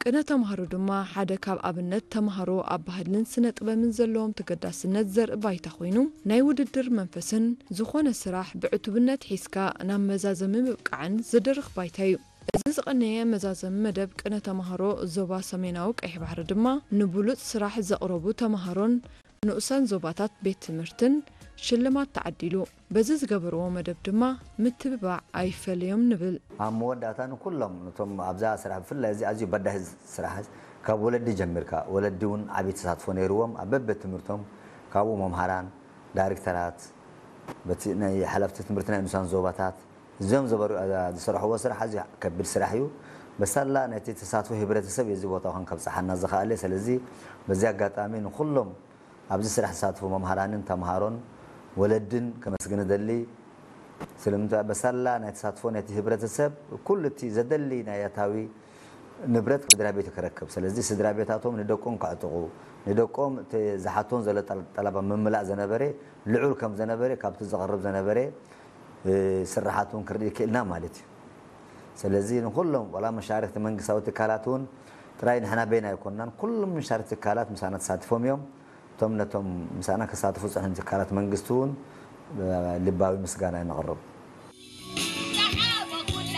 ቅነ ተምሃሮ ድማ ሓደ ካብ ኣብነት ተምሃሮ ኣብ ባህልን ስነ ጥበብን ዘለዎም ተገዳስነት ዘርኢ ባይታ ኮይኑ፣ ናይ ውድድር መንፈስን ዝኾነ ስራሕ ብዕቱብነት ሒዝካ ናብ መዛዘሚ ምብቃዕን ዝድርኽ ባይታ እዩ። እዚ ዝቐነየ መዛዘሚ መደብ ቅነ ተምሃሮ ዞባ ሰሜናዊ ቀይሕ ባሕሪ ድማ ንብሉጽ ስራሕ ዘቕረቡ ተምሃሮን ንኡሳን ዞባታት ቤት ትምህርትን ሽልማት ተዓዲሉ። በዚ ዝገበርዎ መደብ ድማ ምትብባዕ ኣይፈለዮም ንብል። ኣብ መወዳእታ ንኩሎም ነቶም ኣብዛ ስራሕ ብፍላይ እዚ ኣዝዩ በዳሂ ስራሕ ካብ ወለዲ ጀሚርካ፣ ወለዲ እውን ዓብዪ ተሳትፎ ነይርዎም ኣብ በበ ትምህርቶም። ካብኡ መምሃራን፣ ዳይሬክተራት፣ በቲ ናይ ሓለፍቲ ትምህርቲ ናይ ንኡሳን ዞባታት እዚኦም ዝበሩ ዝሰርሕዎ ስራሕ ኣዝዩ ከቢድ ስራሕ እዩ። በሳላ ናይቲ ተሳትፎ ህብረተሰብ የዚ ቦታ ኹን ከብፅሓና ዝኽኣለ። ስለዚ በዚ ኣጋጣሚ ንኩሎም ኣብዚ ስራሕ ዝሳተፉ መምሃራንን ተምሃሮን ወለድን ከመስግን እደሊ። ስለምንታይ በሳላ ናይ ተሳትፎ ናይቲ ህብረተሰብ ኩሉ እቲ ዘደሊ ናይ ኣታዊ ንብረት ስድራ ቤቱ ክረክብ። ስለዚ ስድራ ቤታቶም ንደቆም ከዕጥቑ፣ ንደቆም እቲ ዝሓቶን ዘሎ ጠል- ጠለባ ምምላእ ዘነበረ ልዑል ከም ዘነበረ ካብቲ ዝቐርብ ዘነበረ እ፣ ስራሓት እውን ክርኢ ክእልና ማለት እዩ። ስለዚ ንኩሎም ዋላ መሻርክቲ መንግስታዊ ትካላት እውን ጥራይ ንሕና በይና ኣይኮንናን፣ ኩሎም መሻርክቲ ትካላት ምሳና ተሳቲፎም እዮም። እቶም ነቶም ምሳና ክሳተፉ ዝጸንሑ ትካላት መንግስቲ እውን እ፣ ልባዊ ምስጋና ነቕርብ።